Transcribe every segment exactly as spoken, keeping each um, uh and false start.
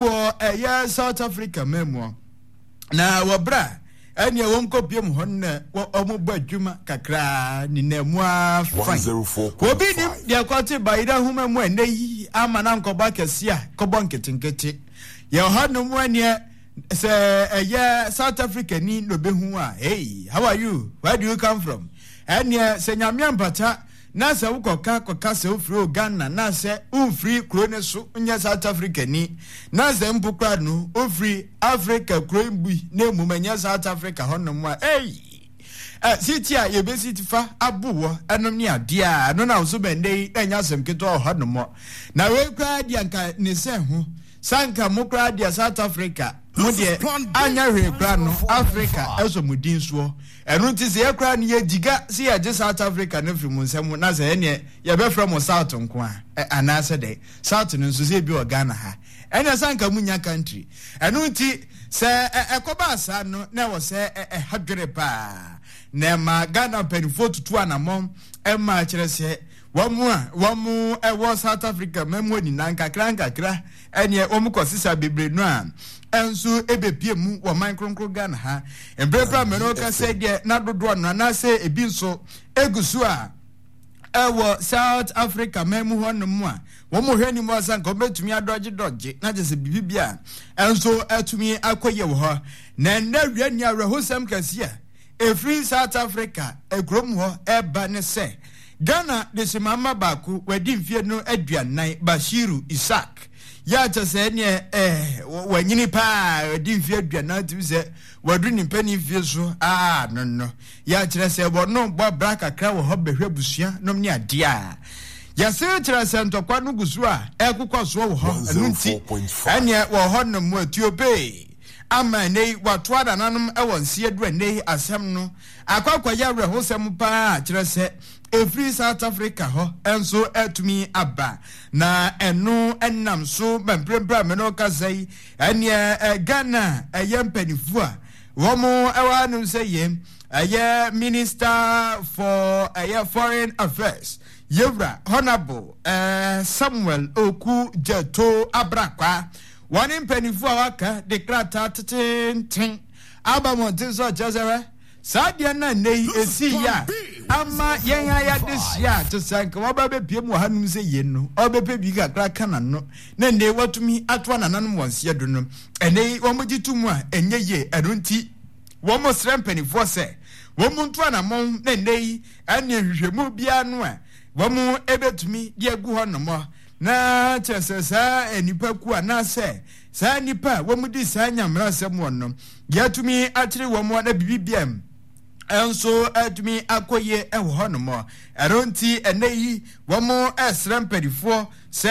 Wɔ ɛyɛ South Africa man mu na wɔ berɛ a ɛneɛ wɔn kɔpie mu hɔ no na wɔn bɔ adwuma kakraa ne na mu afan. Obi nim deɛ kɔte bayerɛ nhoma mu ɛnɛ yi ama na nkɔbɔ akɛse a kɔbɔ nketenkete yɛ hɔ nom ɛneɛ sɛ ɛyɛ South Africa ni na obehu a, "Hey, how are you? Where do you come from?" Ɛneɛ sɛ Nyame ampata na sɛ wokɔka kɔka sɛ wofiri o Ghana na sɛ womfiri kuro no so nyɛ South Africa ni, na sɛ mpo kora no wofiri Africa kuro bi na mmom ɛnyɛ South Africa hɔnom a, ei, siti a yɛbɛsi fa abo wɔ ɛnom ne adeɛ a ɛno na wo so bɛndɛ yi na ɛnyɛ asɛm ketewa wɔ hɔnom. Na wei koraa deɛ nka ne sɛ ho sanka mo koraa deɛ South Africa mo deɛ anyɛ hwee koraa no Africa ɛsɔ mo din soɔ. Ɛno nti sɛ yɛkoraa no yɛgyiga sɛ yɛgye South Africa no firi mo nsɛm na sɛ ɛneɛ yɛbɛfrɛ mo South nko a, anaasɛ dɛ South no nso sɛ ebi wɔ Ghana ha, ɛneɛ sɛ anka munya country. Ɛno nti sɛ ɛkɔbaa saa no na ɛwɔ sɛ ɛha dwere paa na ɛma Ghana mpanimfoɔ tutu anammɔn ɛma kyerɛ sɛ wɔn a wɔn ɛwɔ South Africa mɛmu nyinaa nkakra nkakra ɛneɛ wɔn kɔ sisa bebree no a ɛnso ebepie mu wɔ man kronkron Ghana ha. Mprempren mɛno kasa deɛ na dodoɔ no anaasɛ ebi nso egu so a ɛwɔ South Africa man mu hɔnom a wɔn hwɛ anim asa nka wɔbɛtumi adɔgye dɔgye na kyerɛ sɛ biribi bi a ɛnso ɛtumi akɔ yie wɔ hɔ. Na ɛnɛ wia ni awerɛhosɛm kɛseɛ efiri South Africa ekurom hɔ ɛba ne sɛ Ghana de simama baako wadi mfie no aduanan, Bashiru Isaac, yɛ akyɛ sɛ ɛneɛ ɛɛ wanyini paa, wadi mfie aduanan, tumi sɛ wadu ne mpanin mfie so aa no no yɛ akyerɛ sɛ wɔno bɔ abra kakra wɔ hɔ bɛhwɛ abusua nom ne adeɛ a yɛse kyerɛ sɛ ntɔkwa no gu so a ɛkokɔ soɔ wɔ hɔ. Ɛno nti ɛneɛ wɔ hɔ nom atuope ama ɛnɛ yi watoa nananom ɛwɔ nseɛ du. Ɛnɛ yi asɛm no akɔakɔyɛ awerɛhosɛm paa kyerɛ sɛ ɛfiri South Africa hɔ ɛnso ɛtumi aba na ɛno ɛnam so ma mprempren a mene kasa yi ɛneɛ Ghana ɛyɛ mpanimfoɔ a wɔn ɛwɔ hanom sɛ yɛ ɛyɛ Minister for ɛyɛ Foreign Affairs, Yewura Honourable ɛɛ Samuel Okudzeto Ablakwa, wɔne mpanimfoɔ a waka de krataa tetenten aba mmɔnten so ɔkyerɛ sɛ saa deɛ no nnɛ yi ɛsii yɛ a ama yɛn a yɛade hyia a te sɛ nka wɔba bɛpie mu wɔ hanom sɛ yɛn no ɔbɛpɛ bi kakra ka n'ano na nnɛ watumi atoa nananom wɔn seɛ do no, ɛnɛ yi wɔn gye to mu a ɛnyɛ yie. Ɛno nti wɔn srɛ mpanimfoɔ sɛ wɔn mu nto anammɔn na nnɛ yi ɛne nhwehwɛmu biara no a wɔn ɛbɛtumi de agu hɔ nom na kyerɛ sɛ saa nipa ku anaasɛ saa nipa a wɔn di saa nyamera asɛm wɔn no yɛatumi akyere wɔn na biribi bia nso atumi akɔ yie wɔ hɔnom. Ɛno nti ɛnɛ yi wɔn ɛsrɛ mpanimfoɔ sɛ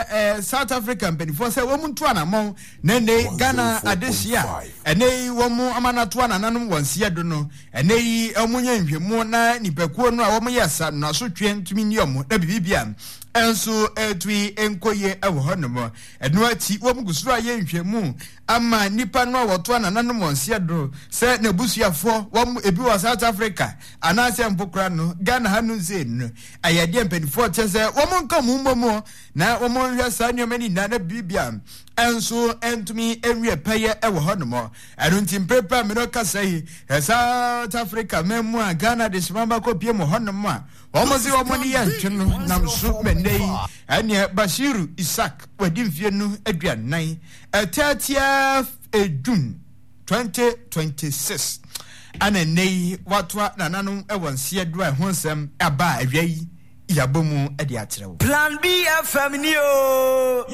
ɛɛ South Africa mpanimfoɔ sɛ wɔn nto anammɔn na ɛnɛ Ghana adehye a ɛnɛ yi wɔn ama n'ato anananom wɔn seɛ do no, ɛnɛ yi wɔn nyɛ nhwɛmu na nipakuo no a wɔn yɛ sa no asotwe ntumi ni wɔn na biribi bia nso ɛtumi nkɔ yie wɔ hɔnom. Ɛno akyi wɔn gu so a yɛ nhwɛmu ama nipa no a wɔto anananom wɔn seɛ do sɛ n'abusuafoɔ wɔn ebi wɔ South Africa anaasɛ mpo kora no Ghana ha no nse no ɛyɛ deɛ mpanimfoɔ kyɛ sɛ wɔn nka mu mmɔ mu na wɔn nhwɛ saa nneɛma no nyinaa na biribia nso ntumi nwie pɛyɛ wɔ hɔnom. Ɛno nti mprepre a mene kasa yi, South Africa man mu a Ghana de soma bakɔ pie mu hɔnom a wɔn se wɔn ne yɛ ntwe no nam so mɛnɛ yi ɛneɛ Bashiru Isaac wadi mfie no aduanan thirtieth June twenty twenty-six ana nnɛ yi watoa nananom wɔ nseɛ do a ɛho nsɛm aba a awia yi yɛabɔ mu de akyerɛ wo. Plan B F M ni o.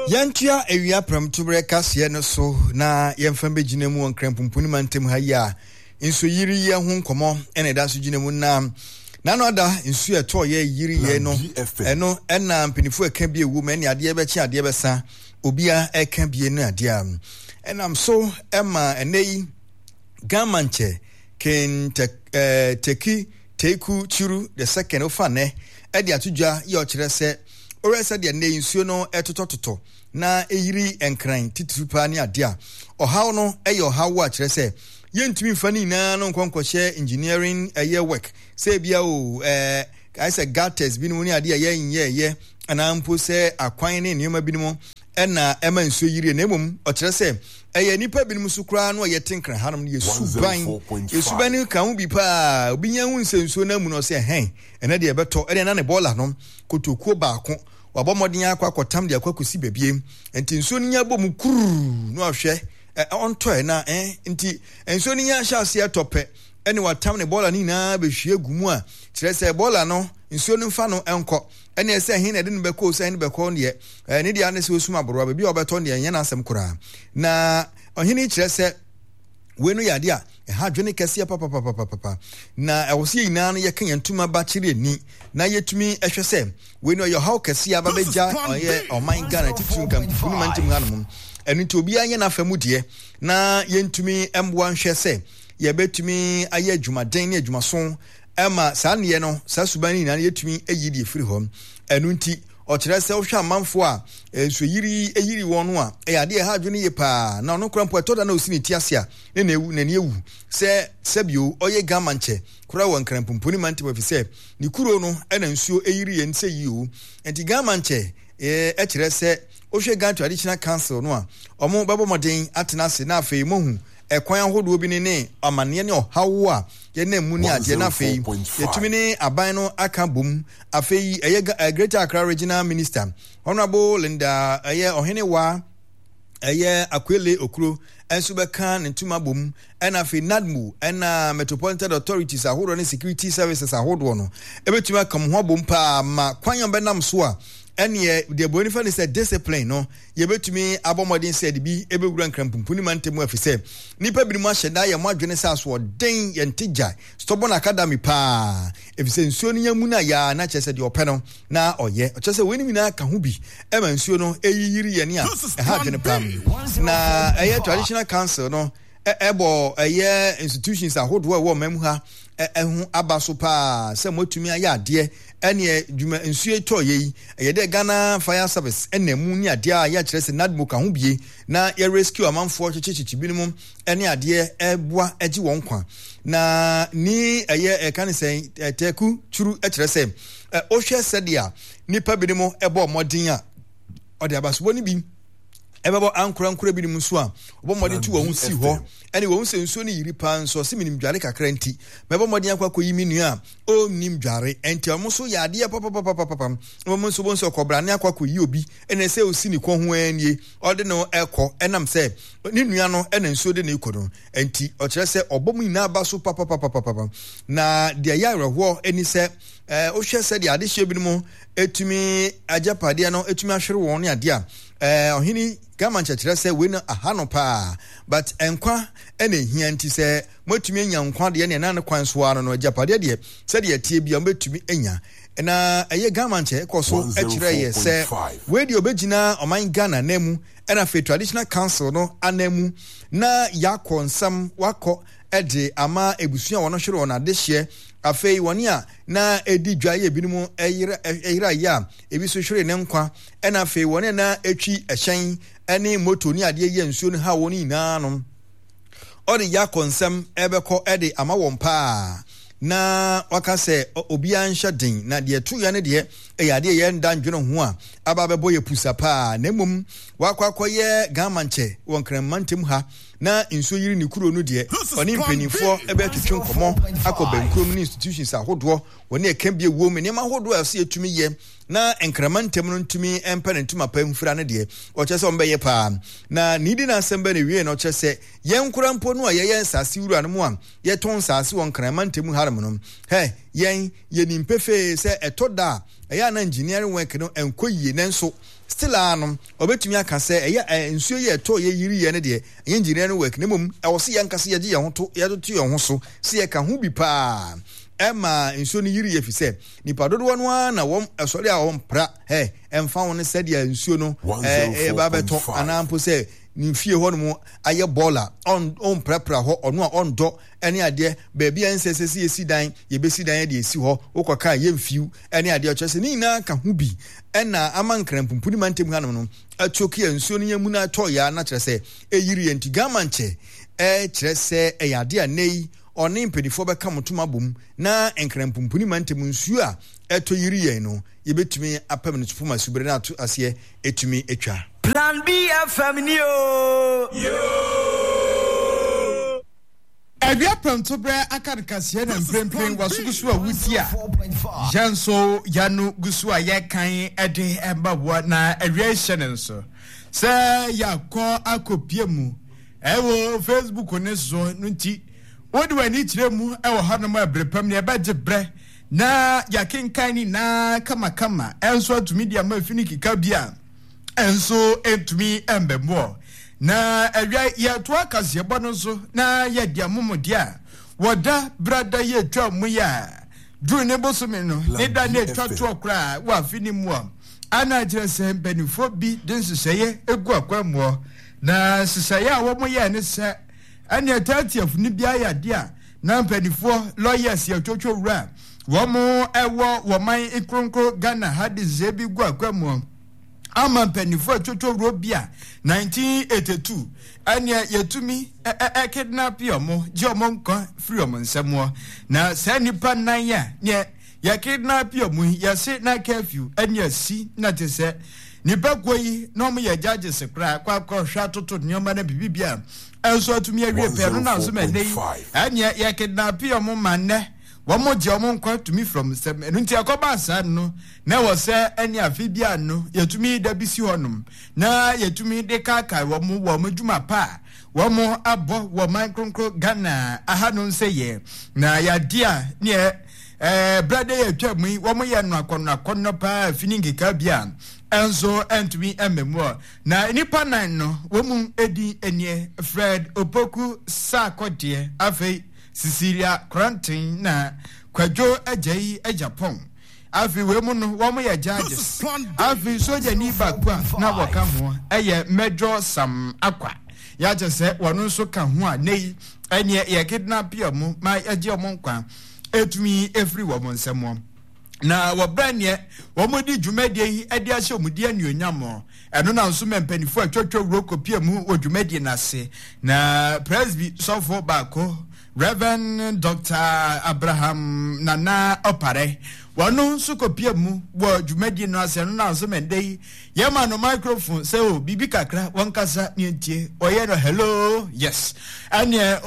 Yɛntoa awia prɛmtoberɛ kaseɛ no so na yɛmfa bɛgyina mu wɔ Nkranpumpuni mantam ha yi a nsuo yiri yɛ ho nkɔmmɔ ɛna ɛda so gyina mu na nano ada nsuo ɛtɔ yɛ yiri yɛ no ɛno ɛna mpanimfoɔ ɛka bi ewu mu ɛne adeɛ bɛkye adeɛ bɛsa obiara ɛka bie no adeɛ a ɛnam so ɛma ɛnɛ yi Ga Mantse King ɛɛ Tackie Teiko Tsuru the Second ofa nɛ ɛde ato dwa yɛ ɔkyerɛ sɛ ɔrɛ sɛ deɛ nnɛ nsuo no ɛtotɔtotɔ na ɛyiri Nkran titiri paa ne adeɛ a ɔhaw no ɛyɛ ɔhaw a kyerɛ sɛ yɛntumi nfa ne nyinaa no nkɔ nkɔhyɛ engineering ɛyɛ work sɛ ebia o ɛɛ ayɛ sɛ gutters binom ne adeɛ a yɛnyɛɛyɛ anaa mpo sɛ akwan ne nneɛma binom ɛna ɛma nsuo yirie, na mmom ɔkyerɛ sɛ ɛyɛ nnipa binom so koraa no a yɛte Nkran hanom no yɛsuban yɛsuban no ka ho bi paa. Obi nya hu sɛ nsuo no amu no, ɔsɛ ɛhɛn ɛnɛ deɛ ɛbɛtɔ, ɛdeɛ na ne bɔɔla no kotokuo baako wabɔ mmɔden akɔ akɔtam de akɔ akɔsi baabie, nti nsuo no nya bɔ mu kuruu na wahwɛ ɔntɔɛ na ɛ nti nsuo no nya hyɛ aseɛ tɔ pɛ ɛne watam ne bɔɔla no nyinaa bɛhwie gu mu a kyerɛ sɛ bɔɔla no nsuo no mfa no nkɔ, ɛne ɛsɛ ɛhe na ɛde no bɛkɔ, sɛ ɛhe no bɛkɔ deɛ ɛne deɛ ane sɛ osum aborowa baabi a ɔbɛtɔ deɛ ɛnyɛ n'asɛm koraa. Na ɔhene kyerɛ sɛ wei no yɛ adeɛ a ɛha adwene kɛseɛ papapapapapa, na ɛwɔ sɛ yɛn nyinaa no yɛka yɛn ntoma ba kyerɛ ani na yɛtumi ɛhwɛ sɛ wei no ɛyɛ ɔhaw kɛseɛ aba bɛgya ɔyɛ ɔman Ghana titiri nkampuni ma ntam hanom. Ɛno nti obiara nyɛ n'afa mu deɛ na yɛntumi mmoa nhwɛ sɛ yɛbɛtumi ayɛ adwumaden ne adwumaso ɛma saa nneɛ no saa suban no nyinaa no yɛtumi ayi deɛ firi hɔ. Ɛno nti ɔkyerɛ sɛ wohwɛ amanfoɔ a nsuoyiri yiri wɔn no a ɛyɛ adeɛ ɛha adwene yie paa, na ɔno koraa mpo ɛtɔ da na ɔsi ne ti ase a ne na ewu n'ani ewu sɛ sɛbio ɔyɛ Gama nkyɛ koraa wɔ Nkranpumpuni mantam, ɛfiri sɛ ne kuro no ɛna nsuo eyiri yɛn sɛ yie o. Nti Gama nkyɛ ɛkyerɛ sɛ wohwɛ Ghana Traditional Council no a wɔn bɛbɔ mmɔden atena ase na afei mohu ɛkwan ahodoɔ bi ne ne amanneɛ ne ɔhaw a yɛnam mu ne adeɛ, na afei yɛtumi ne aban no aka bom. Afei ɛyɛ Greater Accra Regional Minister Honorable Linda ɛyɛ Ɔhenewa ɛyɛ Akwele Okuro nso bɛka ne ntoma bom, ɛna afei NADMO ɛna Metropolitan Authorities ahodoɔ ne security services ahodoɔ no ɛbɛtumi aka mo ho abom paa ma kwan a bɛnam so a ɛneɛ deɛ buroni fa ne sɛ discipline no yɛbɛtumi abɔ mmɔden sɛ de bi ɛbɛwura Nkranpumpuni mantam mu, afi sɛ nnipa binom ahyɛ da yɛ mo adwene sɛ asoɔden yɛnte gya stubborn academy paa, ɛfiri sɛ nsuo no nya mu no a yɛa na kyerɛ sɛ deɛ ɔpɛ no na ɔyɛ. Ɔkyerɛ sɛ weinom nyinaa ka ho bi ɛma nsuo no ɛyiyiri yɛne a ɛha adwene paa. Na ɛyɛ traditional council no ɛbɔ ɛyɛ institutions ahodoɔ ɛwɔ ɔman mu ha ɛho aba so paa sɛ moatumi ayɛ adeɛ ɛneɛ dwuma nsuo tɔ yɛ yi ɛyɛ dɛ Ghana Fire Service ɛna mu ne adeɛ a yɛakyerɛ sɛ NADMO ka ho bie na yɛ rescue amanfoɔ kyekyekye binom ɛne adeɛ ɛboa ɛgye wɔn kwa. Na ni ɛyɛ ɛka ne sɛ ɛtɛku turu ɛkyerɛ sɛ ɔhwɛ sɛdeɛ nipa binom ɛbɔ mmɔden a ɔde abasobɔ no bi ɛbɛbɔ ankorankora binom nso a ɔbɔ mmɔden tu wɔn ho si hɔ ɛne wɔn sɛ nsuo no yiri paa nso ɔsɛ menim dware kakra nti mɛbɔ mmɔden akɔ akɔyi me nua a ɔnnim dware, ɛnti ɔmo nso yɛ adeɛ papapapapam. Wɔn nso wɔn nso ɔkɔbrane akɔ akɔyi obi ɛna ɛsɛ osi ne kɔn ho ɛnie ɔde no ɛkɔ ɛnam sɛ ne nua no ɛna nsuo de ne kɔ no, ɛnti ɔkyerɛ sɛ ɔbɔ mu nyinaa ba so papapapapam. Na deɛ ɛyɛ awerɛhoɔ ɛni sɛ ɛɛ wohwɛ sɛdeɛ adehyeɛ binom etumi agyapadeɛ no etumi ahwere wɔn ne adeɛ a ɛɛ ɔhene Gama nkyerɛkyerɛ sɛ wei no aha no paa, but nkwa ɛna ehia, nti sɛ moatumi anya nkwa deɛ ne ɛna ne kwan so ara no no agyapadeɛ deɛ sɛdeɛ ɛteɛ bia mobɛtumi anya. Na ɛyɛ Gama nkyɛ ɛkɔ so ɛkyerɛ yɛ sɛ wei deɛ ɔbɛgyina ɔman Ghana nan mu ɛna afei traditional council no anan mu na yɛakɔ nsɛm wakɔ ɛde ama ebusua wɔn hwere wɔn adehyeɛ, afei wɔn a na edi dwa yɛ ebinom ɛyera ɛyera yɛ a ebi nso hwere ne nkwa, ɛna afei wɔn a na etwi ɛhyɛn ɛne moto ne adeɛ yɛ nsuo no ha wɔn nyinaa no ɔde yɛ akɔ nsɛm ɛbɛkɔ ɛde ama wɔn paa. Na waka sɛ obiara nhyɛ den na deɛ ɛto yɛ no deɛ ɛyɛ adeɛ yɛn da ndwene ho a aba abɛbɔ yɛ pusa paa, na mmom wakɔ akɔyɛ Gama nkyɛ wɔ Nkranmma ntam ha na nsuo yiri ne kuro no deɛ ɔne mpanimfoɔ ɛbɛtwetwe nkɔmmɔ akɔ bɛnkurom ne institutions ahodoɔ wɔne ɛka bi ewom nneɛma ahodoɔ a ɛsɛ yɛtumi yɛ na Nkrama ntam no ntumi mpɛ ne ntoma pa mfira no deɛ ɔkyerɛ sɛ ɔmbɛyɛ paa. Na ne di n'asɛm bɛ ne wie no ɔkyerɛ sɛ yɛn nkora mpo no a yɛyɛ nsase wura no mu a yɛtɔn nsase wɔ Nkrama ntam hanom no hɛ yɛn yɛnim pefee sɛ ɛtɔ da a ɛyɛ ana engineering work no ɛnkɔ yie, nanso still a no ɔbɛtumi aka sɛ ɛyɛ nsuo yɛ ɛtɔ yɛ yiri yɛ no deɛ ɛnyɛ engineering work, na mmom ɛwɔ sɛ yɛn kasa yɛgye yɛn ho to yɛtoto yɛn ho so sɛ yɛka ho bi paa ɛma nsuo no yiri yɛ fi sɛ nipa dodoɔ no ara na wɔn ɛsɔre a wɔn pra ɛ ɛmfa wɔn sɛdeɛ nsuo no ɛɛ ɛba bɛtɔ anaa mpo sɛ ne fie hɔ nom ayɛ bɔɔla ɔn ɔnprapra hɔ ɔno a ɔndɔ ɛne adeɛ baabi a nsɛ sɛ sɛ yɛsi dan yɛbɛsi dan de esi hɔ wokɔ kaa yɛmfiw ɛne adeɛ ɔkyerɛ sɛ ne nyinaa ka ho bi ɛna ama Nkranpumpuni mantam hanom no atuoke a nsuo no yɛn mu no atɔ yɛ na kyerɛ sɛ ɛyiri yɛn. Nti Gama nkyɛ ɛkyerɛ sɛ ɛyɛ adeɛ a nnɛ yi Ɔne mpanimfoɔ bɛka mo tom abom na Nkran-Pumpuni mantam nsuo a ɛtɔ yiri yɛn no, yɛbɛtumi apam no so poma subere no ato aseɛ ɛtumi atwa. Plan B F M ni o. Awia pɛntoberɛ aka no kaseɛ na mprempren waso gu so a wuti a yɛn nso yɛano gu so a yɛkan de ɛma wɔ na awia hyɛ ne nso sɛ yɛakɔ akɔpie mu ɛwɔ Facebook ne so no nti wode w'ani kyerɛ mu ɛwɔ hɔnom a ɛbere pam ne ɛbɛgye berɛ na yɛakenkan ne nyinaa kamakama ɛnso atumi de ama fi ne keka bi a ɛnso ɛntumi ɛmbɛmmoɔ na awia yɛtoa kaseɛbɔ no nso na yɛde amomɔdeɛ a wɔda brada yɛtwa mu yɛ a duru ne bosome no ne da ne atwa toɔ koraa wɔ afe ne mu a ana kyerɛ sɛ mpanimfoɔ bi de nhyehyɛeɛ egu akwan na nhyehyɛeɛ a wɔn yɛ ne sɛ ɛne thirtieth no bi ayɛ adeɛ a na mpanimfoɔ lawyers yɛtwotwo wura wɔn ɛwɔ wɔn kronkron Ghana ha de nhyehyɛeɛ bi gu akwan mu ama mpanimfoɔ atwotwo wuro bi a nineteen eighty-two ɛnea yɛtumi ɛ kidnap ɔmo gye ɔmo nkwa firi ɔmo nsɛm na saa nipa nan a neɛ yɛ kidnap ɔmo yi yɛse na curfew ɛne asi na te sɛ nipa kuo yi na ɔmo yɛ judges koraa kɔ akɔhwɛ atoto nneɛma na biribi bi a ɛnso atumi awie pɛɛ no na nso ma ɛnɛ yi ɛneɛ yɛ kidnap ɔmo ma nnɛ wɔn gye ɔmo nkwa tumi from nsɛm ɛno nti ɛkɔba saa no na wɔ sɛ ɛne afe bi ano yɛtumi da bi si hɔnom na yɛtumi de kaakae wɔn wɔ wɔn adwuma pa a wɔn abɔ wɔ man kronkron Ghana aha no nsɛ yɛ na yɛade a neɛ ɛɛ brade yɛ atwa mu yi wɔn yɛ no akɔnɔ akɔnɔ paa fini nkeka bi a ɛnso ɛntumi ɛmɛmu na nipa nan no wɔn mu edi enie Fred Opoku Sarkodie afei Cecilia Kranten na Kwadwo Agyei Agyapong afi we mu no wɔn yɛ judges afi sogyani baako a na wɔka ho ɛyɛ Major Sam Akwa yɛakyɛ sɛ wɔn nso ka ho a nei ɛneɛ yɛ kidnap ɔmo ma yɛgye ɔmo nkwa etumi efiri wɔn nsam na wɔbrɛ neɛ wɔn di dwumadie yi de ahyɛ wɔn di anuonyam ɛno na nso mɛ mpanimfoɔ atwatwa wuro kɔpie mu wɔ dwumadie n'ase na presby sɔfo baako Reverend Doctor Abraham Nana Opare wɔn nso kɔpie mu wɔ dwumadie no ase ɛno na nso mɛ ndɛ yi yɛma no microphone sɛ o biribi kakra wɔn kasa ne ntie ɔyɛ no hello yes ɛneɛ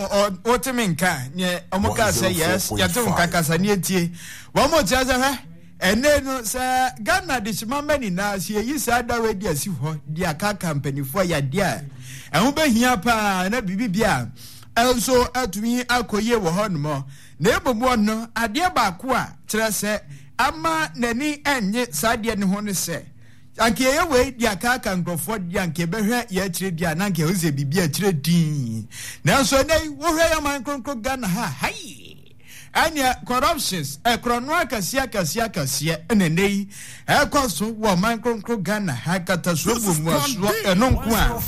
wɔte me nka neɛ wɔn kaa sɛ yes yɛte nka kasa ne ntie wɔn mo kyerɛ sɛ hwɛ ɛnɛ no sɛ Ghana de hyema mma nyinaa sɛ yɛyi saa dawa di asi hɔ de akaka mpanimfoɔ yadeɛ a ɛho bɛhia paa na biribi bi a ɛnso atumi akɔ yie wɔ hɔ nom na ebom wɔ no adeɛ baako a kyerɛ sɛ ama n'ani ɛnye saa adeɛ ne ho ne sɛ anka yɛyɛ wei de akaka nkurɔfoɔ de anka yɛbɛhwɛ yɛ akyire deɛ a na anka yɛhu sɛ biribi akyire din nanso ɛnɛ yi wohwɛ yɛ man kronkron Ghana ha hai ɛneɛ corruptions ɛkorɔno akɛseɛ akɛseɛ akɛseɛ ɛna ɛnɛ yi ɛkɔ so wɔ man kronkron Ghana ha katasoɔ buomuasoɔ ɛno nko a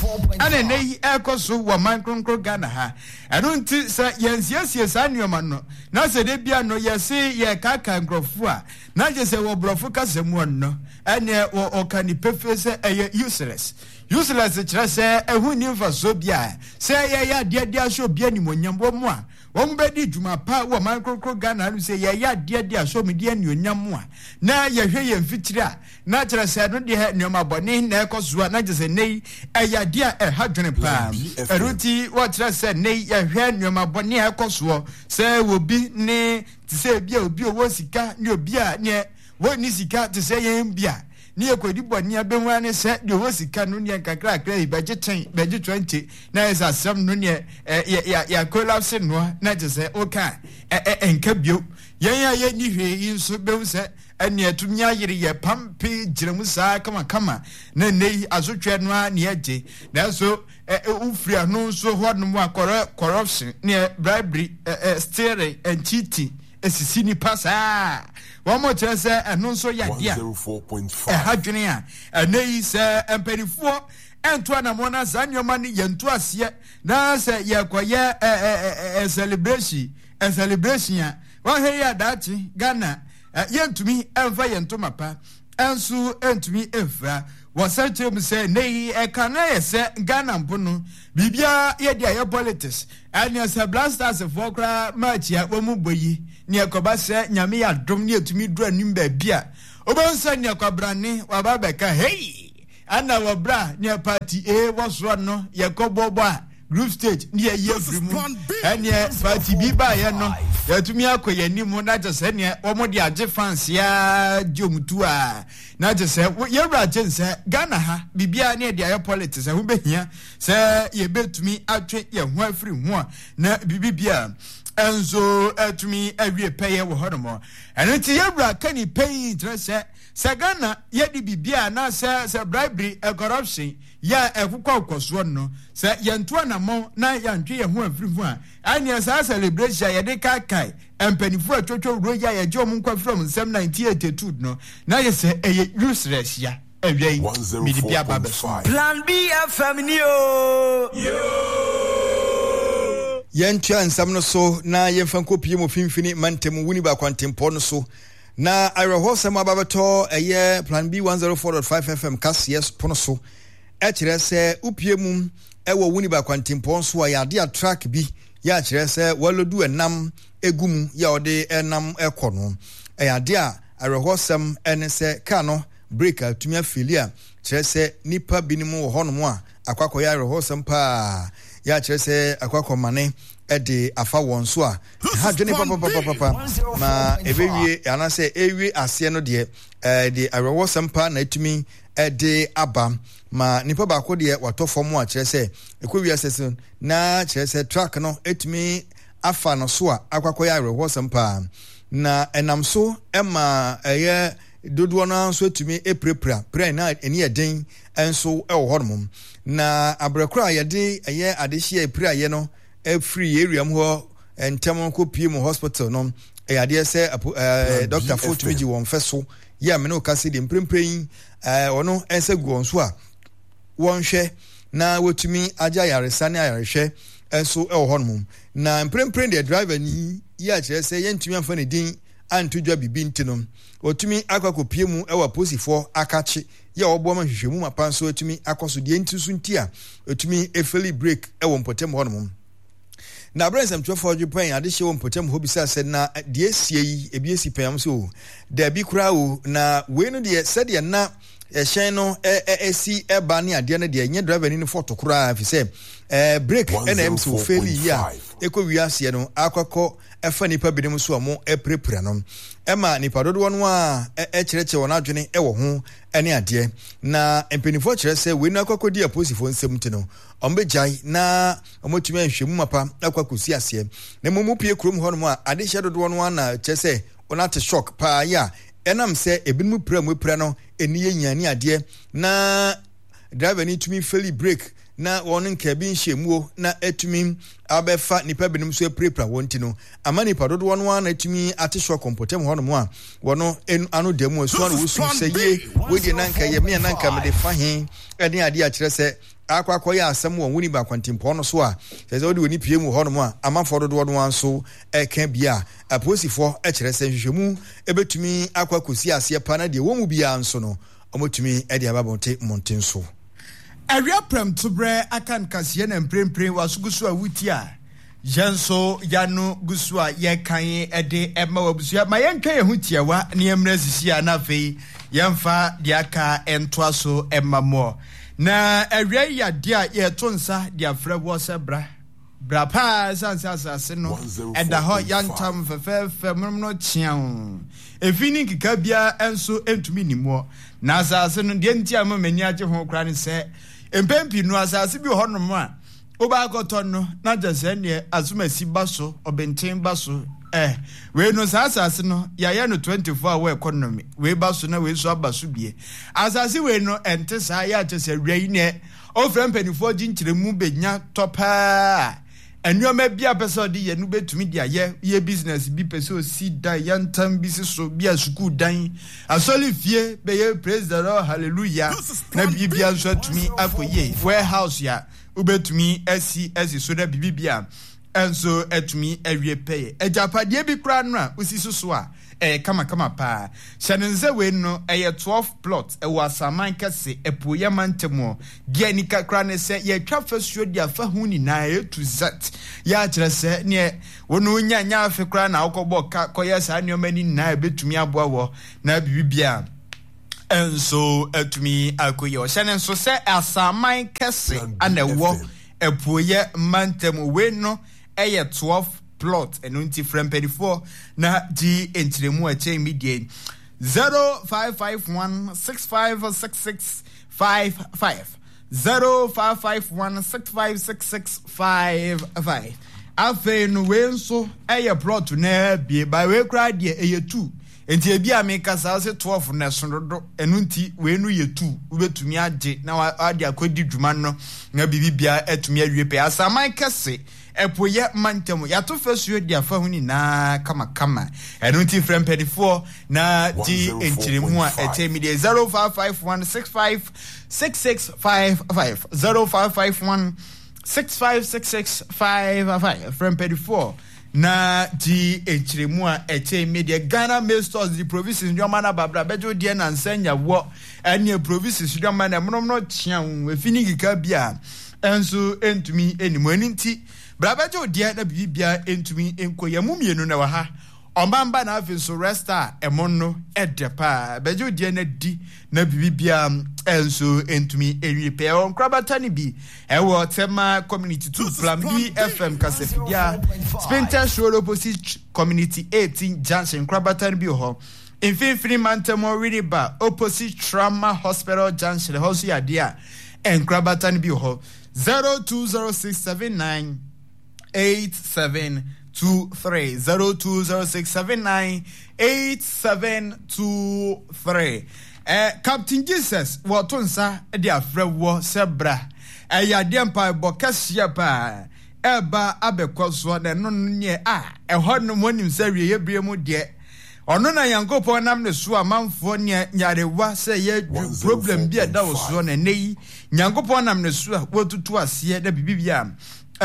ɛna ɛnɛ yi ɛkɔ so wɔ man kronkron Ghana ha ɛno nti sɛ yɛnsiesie saa nneɛma no na sɛ de bia no yɛse yɛkaka nkurɔfoɔ a na gye sɛ wɔ borɔfo kasa mu no ɛneɛ wɔ ɔka ne pefee sɛ ɛyɛ useless useless kyerɛ sɛ ɛho nni mfasoɔ bi a sɛ yɛyɛ adeɛ de ahyɛ obi animuonyam wɔ mu a wɔn bɛdi dwuma pa wɔ man kronkron Ghana no sɛ yɛyɛ adeɛ de ahyɛ wɔn di anuonyam a na yɛhwɛ yɛn mfitiri a na kyerɛ sɛ no deɛ nneɛma bɔne na ɛkɔ so a na kyerɛ sɛ nne yi ɛyɛ adeɛ a ɛha dwene paa ɛno nti wɔkyerɛ sɛ nne yi yɛhwɛ nneɛma bɔne a ɛkɔ soɔ sɛ obi ne te sɛ ebi a obi owó sika ne obi a neɛ wɔnni sika te sɛ yɛn bi a ne yɛkɔdi bɔne abɛhu ne sɛ deɛ ɔwɔ sika no neɛ nkakrakra yi bɛgye ten bɛgye twenty na yɛ sɛ asɛm no neɛ yɛakolapse noa na kyɛ sɛ woka ɛnka bio yɛn a yɛnni hwee yi nso bɛhu sɛ ɛneɛ tumi ayere yɛ pampe gyina mu saa kamakama na nnɛ yi asotwɛ no a ne yɛgye nanso wofiri ano nso hɔnom a corruption neɛ bribery stealing and cheating esisi nipa saa wɔn mo kyerɛ sɛ ɛno nso yɛ adeɛ a ɛha dwene a ɛnɛ yi sɛ mpanimfoɔ ɛnto anamoɔ na saa nneɛma no yɛnto aseɛ na sɛ yɛkɔyɛ ɛ ɛ celebration ɛ celebration a wɔahwɛ yi adaakye Ghana yɛntumi ɛmfa yɛn ntoma pa ɛnso ɛntumi ɛmfira Wɔsan kyerɛ mu sɛ nnɛ yi ɛka no ayɛ sɛ Ghana mpo no biribiara yɛde ayɛ politics. Ɛneɛ sɛ Black Stars foɔ koraa match a wɔn bɔ yi ne ɛkɔba sɛ Nyame yɛ adom ne ɛtumi duru anim baabi a, wobɛhu sɛ neɛ kwabrane waba abɛka hei ɛna wɔ berɛ a neɛ party A wɔ soɔ no yɛkɔ bɔbɔ a group stage ne yɛyi afiri mu, ɛneɛ party B baeɛ no yɛtumi akɔ yɛn anim na kyɛ sɛ neɛ wɔn de agye fans ya gye wɔn tu a na kyɛ sɛ yɛwura gye nsɛ Ghana ha biribiara ne yɛde ayɛ politics. Ɛho bɛhia sɛ yɛbɛtumi atwe yɛn ho afiri ho a na biribi bia nso atumi awie pɛyɛ wɔ hɔnom. Ɛno nti yɛwura ka ni pɛyi kyerɛ sɛ sɛ Ghana yɛde biribiara anaasɛ sɛ bribery, corruption yɛ a ɛkokɔ kɔsoɔ no, sɛ yɛnto anammɔn na yɛantwe yɛn ho afiri ho a, ɛneɛ saa celebration a yɛde kaakae mpanimfoɔ a twotwo wuro yi a yɛgye wɔn nkwa firi wɔn nsɛm nineteen eighty-two no na yɛ sɛ ɛyɛ useless ya. Awia yi mede bi aba bɛso. Plan B F M ni o. Yɛntua nsɛm no so na yɛmfa nkɔpie mu mfimfini mantam Winneba kwantempɔn no so na awerɛhɔsɛm aba bɛtɔ ɛyɛ Plan B one oh four point five F M kaseɛ pono so. Ɛkyerɛ sɛ wopie mu ɛwɔ Winneba kwantempɔn so a yɛade a truck bi yɛ akyerɛ sɛ wɔaload ɛnam egu mu yɛ a ɔde ɛnam ɛkɔ no, ɛyɛ ade a awerɛhɔsɛm ɛne sɛ kaa no brake atumi afail a kyerɛ sɛ nipa binom wɔ hɔnom a akɔ akɔyɛ awerɛhɔsɛm paa yɛ akyerɛ sɛ akɔ akɔmane ɛde afa wɔn so a ha dwene papapapapa ma ɛbɛwie anaasɛ ɛwie aseɛ no deɛ, ɛde awerɛhɔsɛm paa na atumi ɛde aba ma nipa baako deɛ watɔ fam a kyerɛ sɛ ɛkɔ wiase so na kyerɛ sɛ truck no atumi afa no so a akɔ akɔyɛ awerɛhɔsɛm paa na ɛnam so ɛma ɛyɛ dodoɔ no nso atumi apirapira pira na ani yɛ den nso ɛwɔ hɔnom. Na abrɛkoro a yɛde ɛyɛ adehyeɛ apiraeɛ no afiri area mu hɔ ntɛm kɔ pie mu hospital no, ɛyɛ adeɛ sɛ ɛɛ dɔktafoɔ tumi gye wɔn fɛ so yɛ amene okase deɛ mprempren yi ɛɛ ɔno nsa gu wɔn so a wɔnhwɛ na wɔtumi agye ayaresa ne ayarehwɛ nso wɔ hɔnom. Na mprempren deɛ, driver ni yi akyerɛ sɛ yɛntumi amfa ne din anto dwa bibi nti no, wɔtumi akɔ akɔpie mu wɔ apolisifoɔ akakye yɛ a wɔboa ma nhwehwɛmu mapa nso atumi akɔ so deɛ nti so nti a ɛtumi efail brake wɔ mpɔtam hɔnom. Na abere nsɛmtwerɛfoɔ dwe pɛn adehyɛ wɔ mpɔtam hɔ bisa sɛ na deɛ esie yi ebi esi pɛn am so o, daabi koraa o, na wei no deɛ, sɛdeɛ na ɛhyɛn no ɛsi ɛba ne adeɛ no deɛ, nyɛ driver ni no fault koraa fi sɛ ɛɛ brake ɛna ɛm sɛ ofail yi a ɛkɔ wiaseɛ no akɔkɔ ɛfa nipa binom so a mo ɛpirapira no ɛma nipa dodoɔ no a ɛkyerɛkyerɛ wɔn adwene ɛwɔ ho ɛne adeɛ. Na mpanimfoɔ kyerɛ sɛ wei no akɔkɔdi apolisifoɔ nsɛm ti no, wɔn bɛgyae na wɔatumi ahwɛ mu mapa akɔ akɔsi aseɛ. Na mmom pie kurom hɔnom a adehyɛ dodoɔ no ana kyerɛ sɛ wɔn ate shock paa yi a ɛnam sɛ ebinom pira mu apira no ani yɛ nyia ne adeɛ na driver ni tumi fail brake na wɔn nka bi nhyɛ muo na atumi abɛfa nipa binom so apirapira wɔn ti no ama nipa dodoɔ no ara na atumi ate shock mpɔtam hɔnom a wɔn ano da mu asu ano wosu sɛ yie wei deɛ nanka yɛ mmea nanka mede fa he ɛne adeɛ akyerɛ sɛ akɔ akɔyɛ asɛm wɔ Winneba kwantempɔn no so a kyerɛ sɛ wode w'ani pie mu hɔnom a amanfoɔ dodoɔ no ara nso ɛka bi a apolisifoɔ kyerɛ sɛ nhwehwɛmu ɛbɛtumi akɔ akɔsi aseɛ pa na deɛ wɔn mu biara nso no wɔtumi de aba bɔnte mmɔnten so. Awia prɛmtoberɛ aka nkaseɛ na mprempren waso gu so a wuti a yɛn nso yɛano gu so a yɛkan de ɛma wɔ abusua ma yɛntwa yɛn ho tiawa ne yɛmmerɛ sisi a na afei yɛmfa deɛ aka ntoa so ɛma mmoɔ. Na awia yi yadeɛ a yɛto nsa de afrɛ wɔ sɛ bra bra paa, ɛsiane sɛ asase no ɛda hɔ yantam fɛfɛɛfɛ monomono kyeaw, efi ne nkeka biara nso ntumi nnimuɔ. Na asase no deɛ nti a ma m'ani agye ho koraa ne sɛ mpɛn pii no asase bi wɔ hɔnom a wobɛakɔtɔ no na kyɛ sɛ neɛ asomasi ba so ɔbɛnten ba so eh wei no saa asase no yɛayɛ no twenty-four hour economy, wei ba so na wei so aba so bie. Asase wei no ɛnte saa, yɛ akyɛ sɛ wia yi neɛ ɔfrɛ mpanimfoɔ gye nkyerɛmu bɛnya tɔ paa, nneɛma bi a pɛ sɛ ɔde yɛ no bɛtumi de ayɛ yɛ business bi, pɛ sɛ ɔsi dan yɛntam bi si so bi a sukuu dan, asɔre fie bɛyɛ praise the Lord hallelujah na biribia nso atumi akɔ yie, warehouse a wobɛtumi asi asi so na biribi a nso atumi awie pɛyɛ. Agyapadeɛ bi koraa no a wosi so so a ɛyɛ kamakama paa. Hyɛ no nsa, wei no ɛyɛ twelve plot, ɛwɔ Asaman Kɛse, Apueeɛ mantam hɔ. Deɛ nika koraa ne sɛ yɛatwa fasuo de afa ho nyinaa A to Z. Yɛ akyerɛ sɛ neɛ wo no wonya nyɛ afe koraa na wokɔbɔ ka kɔyɛ saa nneɛma no nyinaa, ɛbɛtumi aboa wɔ na biribibia nso atumi akɔyɛ. Ɔhyɛ no nso sɛ Asaman Kɛse ana ɛwɔ Apueeɛ mantam. Wei no ɛyɛ twelve plot. Ɛno nti frɛ mpanimfoɔ na gye nkyerɛmu a ɛkyɛn mi deɛ: zero five five one six five six six five five, zero five five one six five six six five five. Afei no, wei nso ɛyɛ plot na bie ba. Wei koraa deɛ ɛyɛ two, nti ebi a meka saa sɛ twelve na ɛso dodo. Ɛno nti wei no yɛ two, wobɛtumi agye na wade akɔdi dwuma no na biribi biara atumi awie pɛ. Asaman Kɛse, Ɛpoyɛ mantam, yɛato fasuo de afa ho nyinaa kamakama. Ɛno nti frɛ mpanimfoɔ na gye nkyerɛmu a ɛkyɛn mi deɛ: zero five five one six five six six five five, zero five five one six five six six five five. Frɛ mpanimfoɔ na gye nkyerɛmu a ɛkyɛn mi deɛ. Ghana Maize Stores de provisions nneɛma no ababra bɛgye wo deɛ nansa nya wɔ ɛne provisions nneɛma no ɛmonom no kyea wo efi ne nkeka bi a ɛnso ntumi anim. Ɛno nti bra bɛgye wo deɛ na biribiara ntumi nkɔ yɛn mu. Mmienu na wɔ ha, ɔman na afei nso resta a ɛmo no ɛdɛ paa. Bɛgye wo deɛ na di na biribiara nso ntumi nwie pɛɛ. Ɛwɔ nkorabata no bi ɛwɔ Tema Community two, Plan B F M kasafidie, Spintex Road opposite Community eighteen junction. Nkorabata no bi wɔ hɔ Mfimfini mantam, Winneba opposite Trauma Hospital junction. Ɛhɔ nso yɛ adeɛ a nkorabata no bi wɔ hɔ. zero two zero six seven nine eight seven two three, zero two zero six seven nine eight seven two three. Eh, Captain Jesus wɔto nsa de afrɛ wɔ sɛ bra. Ɛyɛ adeɛ mpaebɔ kɛseɛ paa ɛba abɛkɔ soɔ, na ɛno no neɛ a ɛhɔ nom wɔnim sɛ awieeɛ bere mu deɛ, ɔno na Nyankopɔn nam ne so amanfoɔ nea nyarewa sɛ yɛ problem bi a ɛda wo soɔ, na ɛnɛ yi Nyankopɔn nam ne so a wɔtutu aseɛ na biribi bi a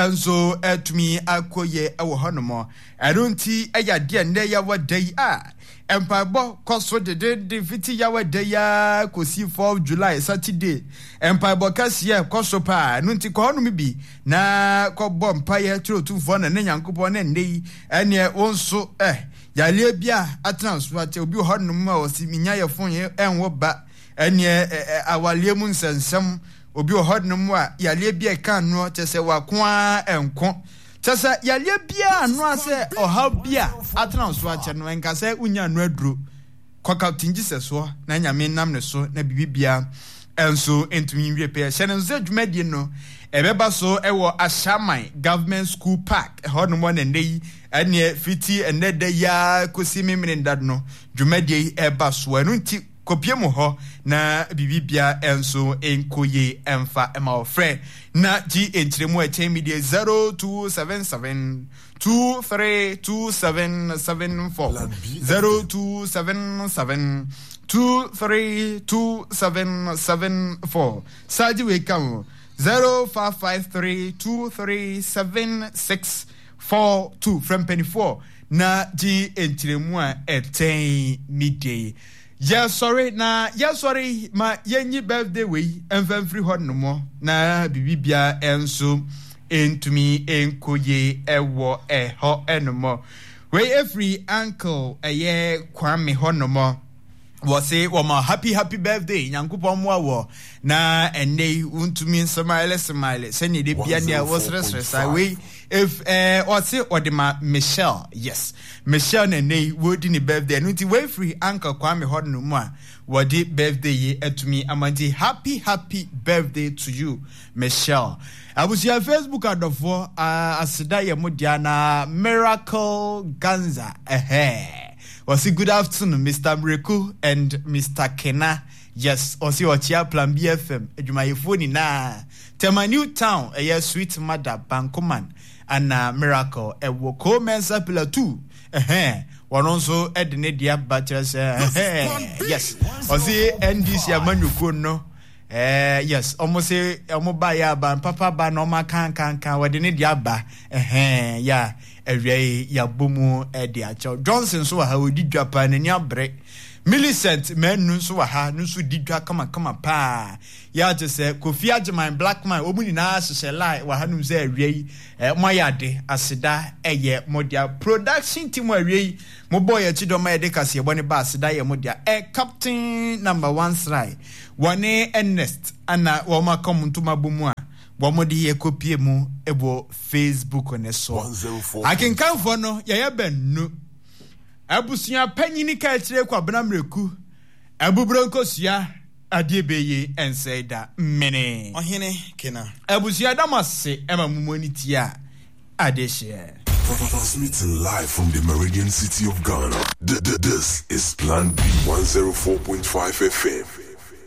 nso atumi akɔ yie wɔ hɔnom. Ɛno nti ɛyɛ adeɛ nnɛ yɛwɔ da yi a mpaebɔ kɔ so dedende fiti yɛwɔ da yi a kɔsi four July Saturday. Mpaebɔ kɛseɛ kɔ so paa. Ɛno nti kɔ hɔnom bi na kɔbɔ mpaeɛ kyerɛ Otumfoɔ na ne Nyankopɔn, ne nnɛ yi ɛneɛ wo nso ɛ yareɛ bi a atena so akyɛ. Obi wɔ hɔnom a ɔsi minya yɛ fon ɛnwo ba, ɛneɛ awaleɛ mu nsɛnsɛm. Obi wɔ hɔnom a yareɛ bi a ɛka noɔ kyɛ sɛ wako ara ɛnko, kyɛ sɛ yareɛ biara ano asɛ ɔhaw bi a atena so akyɛ no, ɛnka sɛ wonya ano aduro. Kɔ Captain Jesus soɔ na Nyame nam ne so na biribi biara ɛnso ntumi nwie pɛyɛ. Hyɛ no nso sɛ dwumadie no ɛbɛba so ɛwɔ Ashaman Government School Park ɛhɔ nom. Na nnɛ yi ɛneɛ fiti ɛnnɛ da yi ara kɔsi memene da no, dwumadie yi ɛba so. Ɛno nti kɔpie mu hɔ na biribibia nso nkɔ yie ɛmfa ɛma ɔfrɛ na gye nkyerɛmu a ɛkyɛn mi deɛ: zero two seven seven two three two seven seven four, zero two seven seven two three two seven seven four. Saagye wei ka ho: zero five five three two three seven six four two. Frɛ mpanimfoɔ na gye nkyerɛmu a ɛkyɛn mi deɛ. Yɛsɔre na yɛsɔre ma yɛnyi birthday wei mfa mfiri hɔ nom na biribibia nso ntumi nkɔ yie ɛwɔ ɛhɔ ɛnom. Wei efiri Uncle ɛyɛ Kwame hɔ nom. Wɔse wɔma happy happy birthday. Nyankopɔn mmoa wɔ na ɛnnɛ yi wontumi nsmile smile sɛnea de bia nea wɔseresere saa. Wei if ɛɛ ɔse ɔde ma Michelle. Yes, Michelle na ɛnnɛ yi wɔredi ne birthday. Ɛno nti wei firi Uncle Kwame hɔ nom a wɔde birthday yi atumi ama. Nti happy happy birthday to you, Michelle. Abusua, Facebook adɔfoɔ, uh, aseda yɛ mo dea. Na Miracle Ganza ɛhɛ wɔsi, "Good afternoon, Mister Mreku and Mister Kena." Yes, ɔsi ɔkyea Plan B F M adwumayɛfoɔ nyinaa, Tema New Town, ɛyɛ Sweet Mother Bankoman ana Miracle ɛwɔ Comensa Pillar two. Ɛhɛn, wɔn nso ɛde ne deɛ aba kyerɛ sɛ ɛhɛn, yes, ɔsi N D C amanyɔkuo no. Eh, yes, ɔmo se ɔmo ba yɛ aba mpapa ba na ɔmo akankankan wɔde ne de aba ɛhɛn ya awia yi yabɔ mu ɛde akyɛw. Johnson nso wɔ ha, odi dwa paa, n'ani abere. Millicent Manu nso wɔ ha, no nso di dwa kamakama paa. Yɛ agye sɛ Kofi Agyeman, Blackman, wɔn nyinaa hyehyɛ line wɔ hanom sɛ awia yi eh, mo ayɛ ade, aseda ɛyɛ mo dea. Production team awia yi mo bɔ yɛ akyi dɔm a yɛde kaseɛbɔ ne ba, aseda yɛ mo dea. Eh, Captain Number One Sry wɔne Ernest ana wɔn aka wɔn ntoma bɔ mu a wɔn de yɛ kopie mu wɔ Facebook ne so. Akenkanfoɔ no yɛyɛ bɛnnu. Abusua panyini ka akyire Kwabena Mmireku abuburo nkosua adeɛ bɛyie nsɛe da mmene. Ɔhene Kena. Abusua da mo ase ma mo mu ani tia adehyeɛ. Transmitting live from the Meridian City of Ghana. This is Plan B one zero four point five F M.